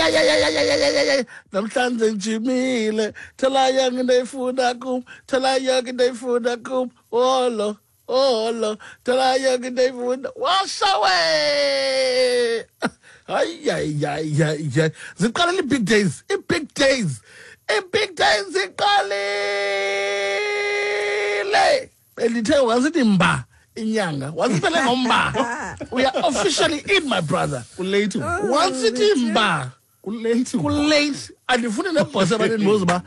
Hayi, namhlanje ngijimile. Thola yonke into oyifuna kum, thola yonke into oyifuna kum. Olo, olo, thola yonke into oyifuna. Washa we! Hayi, hayi, hayi, hayi, hayi. Ziqalile ii-big days, ii-big days, ii-big days ziqalile. Bendithe wasithi mba inyanga, wasiphele ngomba. We are officially in, my brother. Kulate. Once ithi mba, Kulate. Kulate. Andifuni nebhosi abanendibuza uba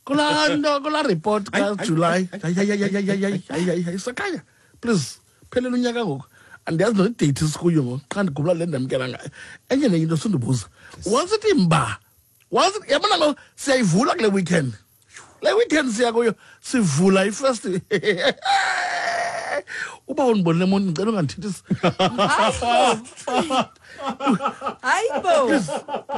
kulaa nto, kulaa report kaJulayi. Hayi, hayi, hayi, hayi, hayi, hayi, hayi, hayi, sakhanya, please, phelele unyaka ngoku. Andiyazi nodate sikuyo ngoku, xa ndigubula le ndamkela ngayo. Enye nenye into sundibuza. Once ithi mba, once yabona ngoku siyayivula kule weekend. Le weekend siya kuyo, sivula ifirst. Uba undibonile emonti, ndicela ungandithethisi. Hayi bo,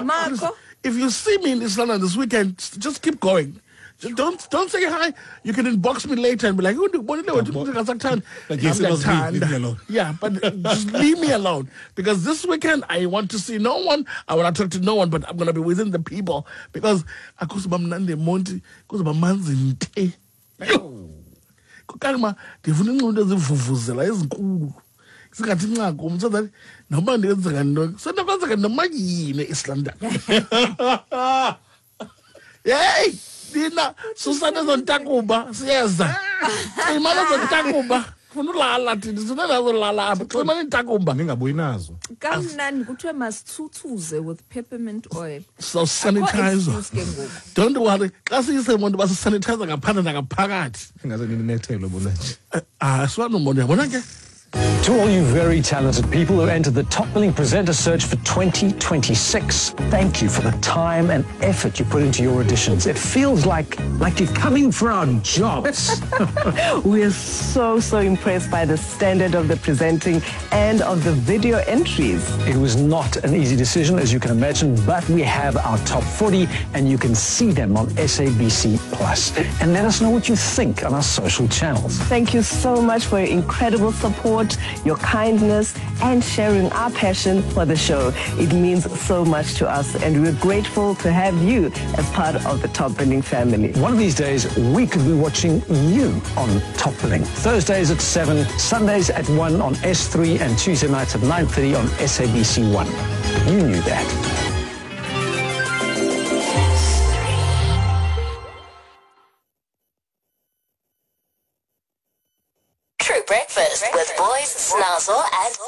Marco. If you see me in East London this weekend, just keep going. Just don't say hi. You can inbox me later and be like, "Oh, ndikubonile wethu, ndingasakuthandi." Like, yes, it was me. Ndiyakuthanda. Leave me alone. Yeah, but just leave me alone, because this weekend I want to see no one. I want to talk to no one, but I'm going to be within the people because akuzuba mnandi eMonti, kuzoba manzi nte. Yho! Kangima ndifuna inxiba into ezivuvuzela ezinkulu. Singathi nca kum so that noba ndenzeka ntoni, senokwenzeka noma yini eEast London. Hey, nina susana ezontakuba, siyeza. Cima ezontakuba. Funa ulala thina, sifuna nazolala apha. Cima intakuba. Ningabuyi nazo. Kamnandi kuthiwe masithuthuze with peppermint oil. So sanitizer. Akho excuse ke ngoku. Don't worry. Xa siyisemonto basisanitizer ngaphandle nangaphakathi. Ingaze ninethelwe bona nje. Ah, siwanomona, uyabona ke. To all you very talented people who entered the Top Billing Presenter search for 2026, thank you for the time and effort you put into your auditions. It feels like you're coming for our jobs. We're so, so impressed by the standard of the presenting and of the video entries. It was not an easy decision, as you can imagine, but we have our top 40 and you can see them on SABC Plus. And let us know what you think on our social channels. Thank you so much for your incredible support, your kindness, and sharing our passion for the show. It means so much to us, and we're grateful to have you as part of the Top Billing family. One of these days, we could be watching you on Top Billing. Thursdays at 7, Sundays at 1 on S3, and Tuesday nights at 9:30 on SABC 1. You knew that. True Breakfast with Boys, Snazzle, and